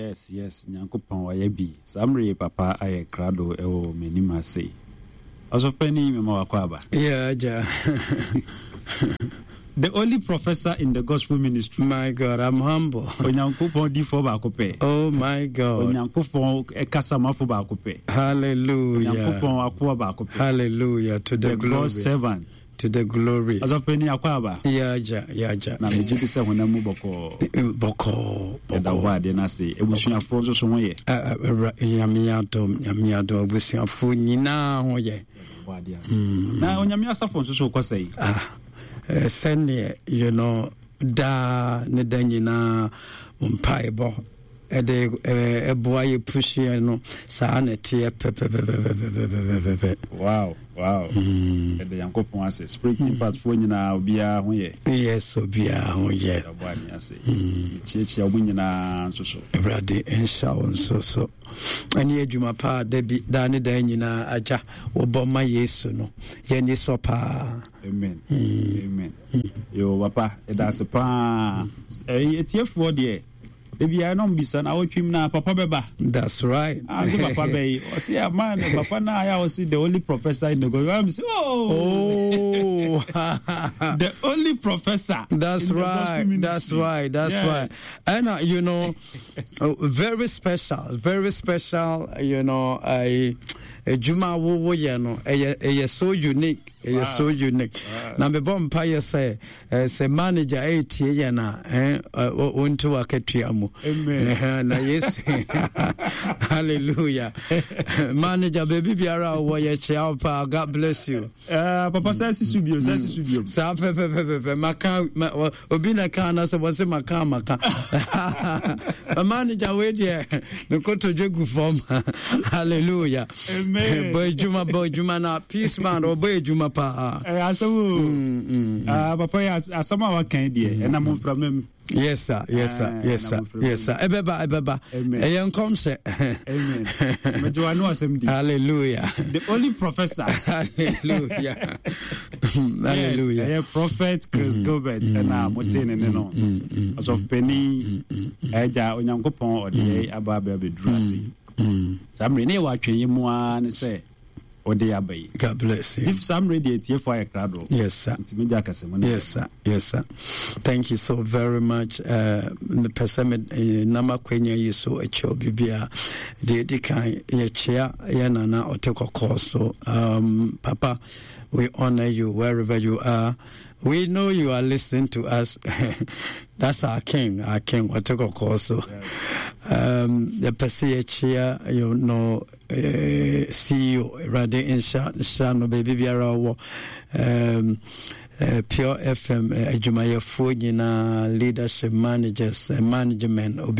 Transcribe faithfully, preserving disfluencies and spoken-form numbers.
Yes, yes, Nyankopɔn wayɛ bi. Saa mmerɛ yi papa ayɛ krado ɛwɔ m'anim ase. Ɔsɔfo mema wakɔ aba. Yeah, agya. The only professor in the gospel ministry. My God, I'm humble. Onyankopɔn difoɔ baako pɛ. Oh my God. Onyankopɔn kasamafo baako pɛ. Hallelujah. Onyankopɔn akoa baako pɛ. Hallelujah to the, The glory. God's servant. To the glory. Ɔsɔfo akɔ aba. Yeah, agya, yeah, agya. Na megye di sɛ honam mu bɔkɔɔ. Bɔkɔɔ, Ɛda bɔkɔɔ. hɔ adeɛ no ase. Abusuafoɔ nso so ho yɛ. Ɛ- ɛ- Ɛwura- Nyame adom, Nyame adom, abusuafoɔ nyinaa ho yɛ. Ɛda hɔ adeɛ ase. Na Onyame asafo nso so kɔ sɛn? Ah, eh, sɛneɛ, you know, daa ne da nyinaa mo mpaebɔ ɛde eh, ɛboa yɛ puhyeɛ no saa na ɛteɛ pɛpɛpɛpɛpɛpɛpɛpɛ. Wow, wow. Ɛda Nyankopɔn ase. Spirit Impact foɔ nyinaa obiara ho yɛ. Yes, obiara ho yɛ. Ɛda hɔ adeɛ ase. Kyiakyia wɔn nyinaa nso so. Awurade nhyɛ wo nso so ɛne adwuma paa da bi daa ne daa nyinaa agya wobɔ ma Yesu no yɛni sɔ paa. Amen. Amen. Yo, papa, ɛda ase paa. Ɛyi etiefoɔ deɛ, ebi ayɛ na ɔmo bisa na awɔtwim na papa bɛba. That's right. Ah, nso papa bɛyi. Ɔsi ama no papa na ayɛ a ɔsi the only professor in the gospel. I'm say, oh, Oh, the only professor. That's in the right. gospel That's ministry. right. That's Yes. right. And uh, you know, uh, very special, very special. You know, I adwuma a wowoyɛ no ɛyɛ ɛyɛ so unique, ɛyɛ Wow. so unique. Na mebɔ mpaeɛ sɛ eh, sɛ manager ɛretie yɛn a eh, ɛ, ɔ- ɔntu wakatua mu. Amen. Ɛhɛn, na Yesu, hallelujah, manager, baabi biara a wowɔ, yɛkyea wo paa. God bless you. Uh, papa sɛ sisi bio, sɛ sisi bio. Saa pɛpɛpɛpɛpɛ maka ma, wɔ- obi na ka na sɛ wɔse maka maka manager wei deɛ mekotodwe gu fam. Hallelujah. Amen. Bɔ adwuma, bɔ adwuma na peace man ɔbɔ adwuma paa. Ɛyɛ asɛm o. Ah, papa yɛ as- asɛm a waka yi deɛ ɛnam mframa mu. Yes sir, yes sir. Ah, Yes sir. na Yes sir, ɛbɛba, ɛbɛba. Amen. Ɛyɛ nkɔmhyɛ. Amen. Megye w'ano asɛm di. Hallelujah. The only professor. Hallelujah, hallelujah. Yes, ɛyɛ Prophet Chris Gilbert ɛna mote ne ne no. Ɔsɔfopanin ɛgya Onyankopɔn ɔde yɛ aba aba abɛduru ase. Saa mmerɛ ne yɛwɔ atwɛnyɛ mu ara ne sɛ ɔde aba yi. God bless you. If saa mmerɛ deɛ atiefoɔ ayɛ krado. Yes sir. Nti megya akasɛmu no. Yes, sir. Yes, sir. Thank you so very much. Uh, mepɛ sɛ me eh, nam akwanya yi so akyia obi bia deɛ ɛdi kan yɛkyea yɛ nana ɔte kɔkɔɔ so. Um, papa, we honor you wherever you are. We know you are listening to us. That's our king, our king ɔte kɔkɔɔ so. Um, yɛpɛ sɛ yɛkyea you know, eh, C E O, Awurade nhyɛ nhyira no baabi biara ɔwɔ. um, uh, Pure F M uh, adwumayɛfoɔ nyinaa, leadership, managers, uh, management, obi